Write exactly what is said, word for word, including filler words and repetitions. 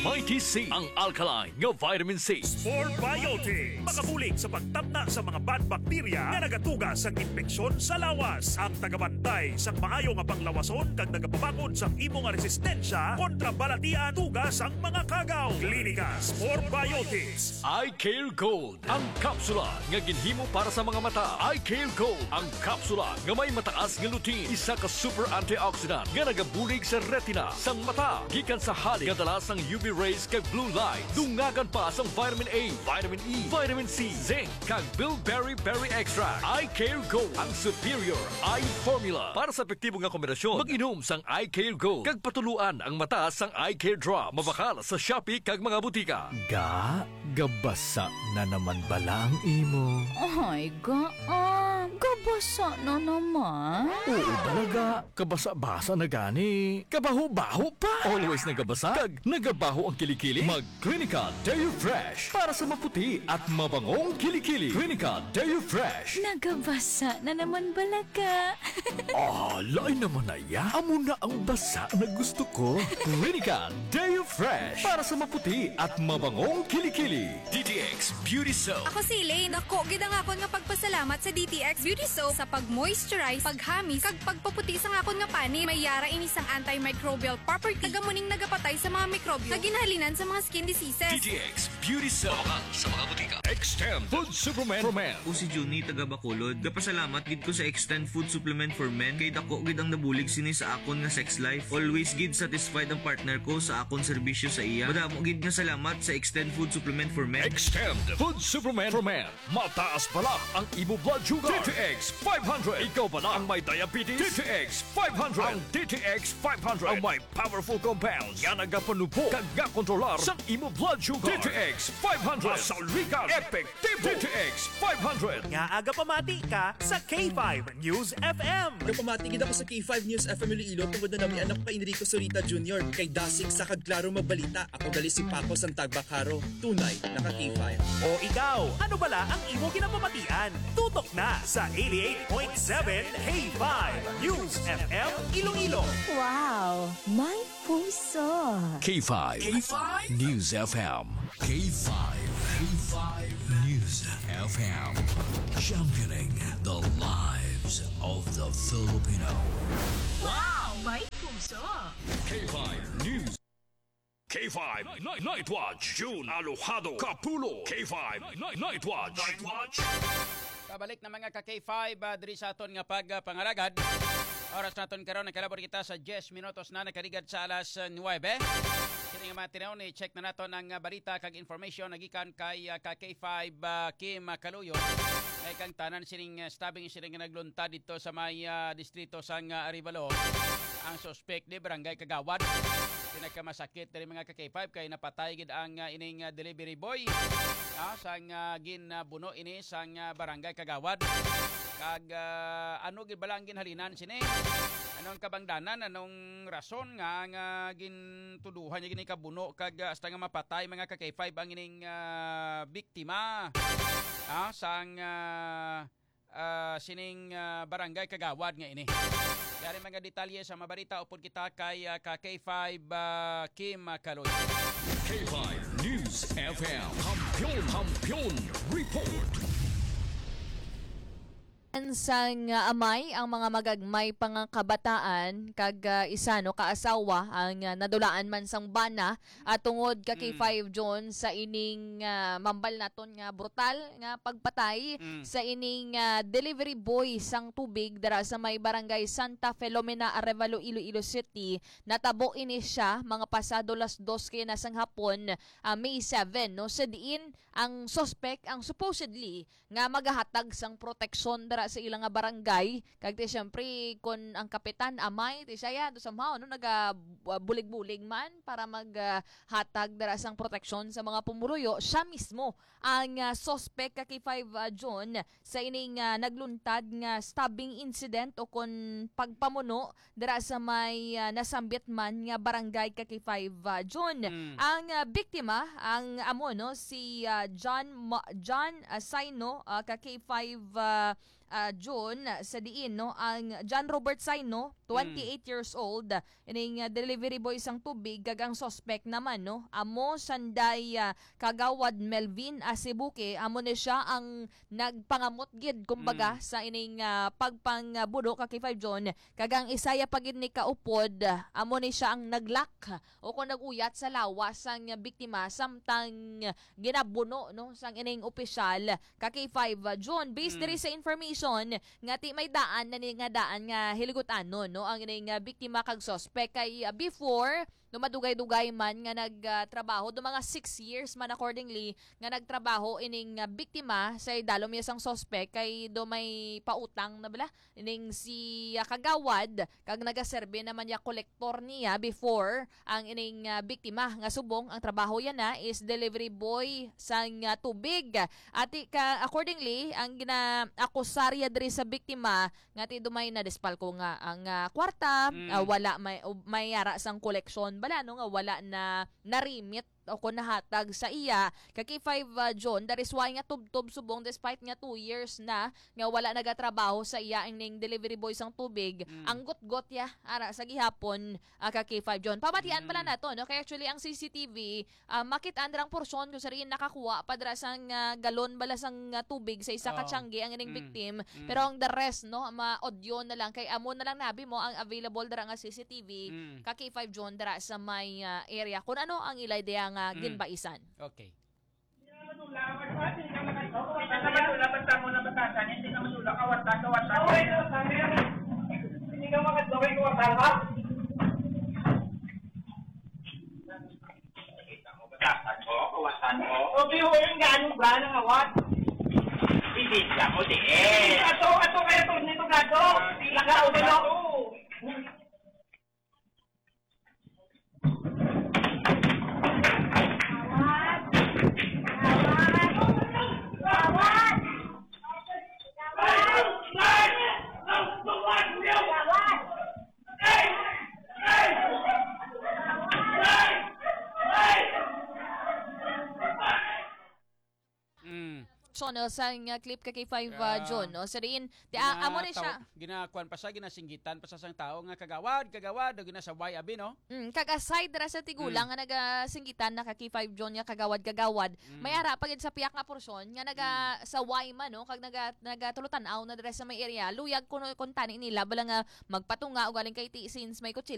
Mighty C, ang alkaline nga vitamin C. Spore Biotic, makabulig sa pagtamna sa mga bad bacteria nga nagatuga sa impeksyon sa lawas. Ang tagabantay sang maayo nga panglawason kag nagapabakod sang imo nga resistensya kontra balatian tuga sang mga kagaw. Klinika Spore Biotics. Eye Care Gold, ang kapsula nga ginhimo para sa mga mata. Eye Care Gold, ang kapsula nga may mataas nga lutein, isa ka super antioxidant nga nagabulig sa retina sang mata gikan sa halin nga dala sang U V rays kag blue light. Dungagan pa sang vitamin A, vitamin E, vitamin C, zinc, kag bilberry berry extract. Eye Care Gold, ang superior eye formula para sa epektibo nga kombinasyon. Mag-inom sang Eye Care Gold kag patuluan ang mata sang Eye Care Drop. Mabakal sa Shopee kag mga butika. Ga, gabasa na naman bala ang imo? Ay, ga, ah, gabasa na naman. Oo, balaga. Kabasa-basa na gani. Kabaho-baho pa. Always nagabasa kag nagabaho ang kilikili. Mag Clinica Deo Fresh para sa maputi at mabangong kilikili. Clinica Deo Fresh. Nagabasa na naman bala ka. Ah, lain naman na ya. Amo na ang basa na gusto ko. Clinica Deo Fresh para sa maputi at mabangong kilikili. D T X Beauty Soap. Ako si Elaine. Dako gid ang akon nga pagpasalamat sa D T X Beauty Soap sa pag-moisturize, paghamis, kag pagpaputi sang akon nga panit. May yara ini sang antimicrobial property, kag amo ning nagapatay sa mga mikrobyo nga ginahalinan sa mga skin diseases. D T X Beauty Soap. Mabakal sa mga butika. Extend Food Supplement for Men. Ako si Junie, taga Bacolod. Gapasalamat gid ko sa Extend Food Supplement for Men kay dako gid ang nabulig sini sa akon nga sex life. Always gid satisfied ang partner ko sa akon serbisyo sa iya. Madamo gid nga salamat sa Extend Food Supplement for Men. Extend Food Supplement for Men. Mataas bala ang imo blood sugar. D T X five hundred. Ikaw bala ang may diabetes. D T X five hundred. Ang D T X five hundred ang may powerful compounds nga nagapanubo kag nga kontrolar sa imo blood sugar. D T X five hundred. Masaligan, epektibo. D T X five hundred. Nga aga pamati ka sa K five News F M. Gapamati gid ako sa K five News F M Iloilo tungod na namian ako kay Enrico Zurita Junior. Kay dasig sa kag klaro magbalita, ako gali si Paco Santagbacaro. Tunay na ka K five. O ikaw, ano bala ang imo ginapamatian? Tutok na sa eighty-eight point seven K five News F M Iloilo. Wow, may puso. K five. K five News F M. K five. K five News F M. Championing the lives of the Filipino. Wow, may puso. K five News. K five Night, Night Watch, June Alojado Kapulo. K five Night, Night Watch. Night Watch. Pabalik na, mga ka K five, ah, diri sa aton nga pagpangalagad. Oras naton karon, nakalabot kita sa diyes minutos na nakaligad sa alas, ah, nuwebe. Kini nga mga tinuon, i-check na naton ang, ah, balita kag information nagikan kay, ah, ka K five, ah, Kim, ah, Kaluyo. May kang tanan sining, ah, stabbing sining nga nagluntad dito sa may, ah, distrito sang, ah, Arevalo. Ang suspek di Barangay Kagawad. Pinakamasakit diri, mga ka K five, kay napatay gid ang, ah, ining, ah, delivery boy, ah, sang, ah, gin, ah, buno ini sang, ah, Barangay Kagawad. Kag, ah, ano gid bala ang ginhalinan sini? Anong kabangdanan, anong rason nga, nga gintuduhan niya gini kabuno kag, ah, hasta nga mapatay, mga ka K five, ang ining, ah, biktima, ah, sang, ah, ah, sining, ah, Barangay Kagawad nga ini. Yari mga detalye sa mabalita upod kita kay, ah, ka K five, ah, Kim, ah, Kaloy. K five News F M. Kampiyon, Kampiyon Report. Sang, ah, amay ang mga magagmay pa nga kabataan kag, ah, isa, no, ka asawa ang, ah, nadulaan man sang bana at tungod ka kay Mm. Five John sa ining, ah, mambal naton nga brutal nga pagpatay Mm. sa ining, ah, delivery boy sang tubig dira sa may barangay Santa Filomena, Arevalo, Iloilo City. Natabo ini siya mga pasado las dos kay na sang hapon, ah, May seven, no? Sa diin ang suspect ang supposedly nga magahatag sang proteksyon dira sa ila nga barangay. Kag ti, siyempre, kun ang kapitan amay, ti siya yan, to somehow, no, naga, ah, bulig-bulig man para mag, ah, hatag dira sang proteksyon sa mga pumuluyo. Siya mismo ang, ah, suspect ka kay Five, ah, June sa ining, ah, nagluntad nga stabbing incident o kun pagpamuno dira sa may, ah, nasambit man nga barangay ka kay Five, ah, June. Mm. Ang, ah, biktima, ang amo, no, si, ah, John Ma-, John, ah, Saino, ah, ka kay Five, ah, ah, June, sa diin, no, ang John Robert Saino, twenty-eight years old, ining, ah, delivery boy sang tubig, kag ang suspect naman, no, amo sanday, ah, Kagawad Melvin Asibuque, amo ni siya ang nagpangamot gid, kumbaga, Mm. sa ining, ah, pagpangbuno ka K five John, kag ang isaya pa gid ni kaupod, ah, amo ni siya ang naglock o kung nag-uyat sa lawas sang biktima, samtang ginabuno, no, sang ining opisyal ka K five John. Based Mm. diri sa information nga ti may daan na ni nga daan nga hiligutan-on, no, ang ining, ah, biktima kag suspect kay, ah, before, no, madugay-dugay man nga nag, ah, trabaho, do mga six years man accordingly nga nagtrabaho ining, ah, biktima sa idalom niya sang suspect kay do may pautang na bala ning si, ah, Kagawad kag nagaserbi naman niya kolektor niya before ang ining, ah, biktima nga subong ang trabaho yan na is delivery boy sang, ah, tubig. Ati ka, accordingly, ang ginaakusar ya diri sa biktima nga ti dumay na despalko nga ang, ah, kwarta, Mm. ah, wala may, o may ara sang koleksyon bala, no, nga wala na narimit o kon nahatag sa iya. Kay K five, ah, John, that is why nga tubtob subong despite nga two years na nga wala nagatrabaho sa iya ang ning delivery boy sang tubig. Mm. Ang gutgot ya ara sa gihapon, ah, ka K five John. Pamatian pala Mm. nato, no? Kay actually ang C C T V, ah, makit-an ra ang porsyon kung sa diin nakakuha pa dira sang, ah, galon bala sang, ah, tubig sa isa ka Oh. tiyangge ang ining Mm. victim. Mm. Pero ang the rest, no, ma-audio na lang kay amo na lang nabi mo ang available dira nga C C T V Mm. ka K five John dira sa may, ah, area. Kung ano ang ilay diya nga Mm. ginbaisan. Okay. Hindi ka makadlaway ko, wala ka? Kita mo, batasan mo, kawasan mo. O, di ho, yung gaano ba ng awat? Hindi ka mo, di eh. Ato, ato kaya to, nito gato. Laka, o, balo. Mm. So, no, sa nga clip ka kay five, ah, Ah, June, no? Sa diin, ti, ah, amo ni siya. Gina-, taw-, ginakuan pa siya, ginasinggitan pa siya sang tao nga, "Kagawad, kagawad," o ginasaway, abi, no? Mm, kag aside ra sa tigulang Mm. nga nagasinggitan na ka kay five June nga, "Kagawad, kagawad," Mm. may ara pa gid sa piyak nga porsyon nga naga-, Mm. saway man, no? Kag naga-, nagatulotanaw na dira sa may area. Luyag kuno kung tani nila, bala nga magpatunga o galing kay ti, since may kutsilyo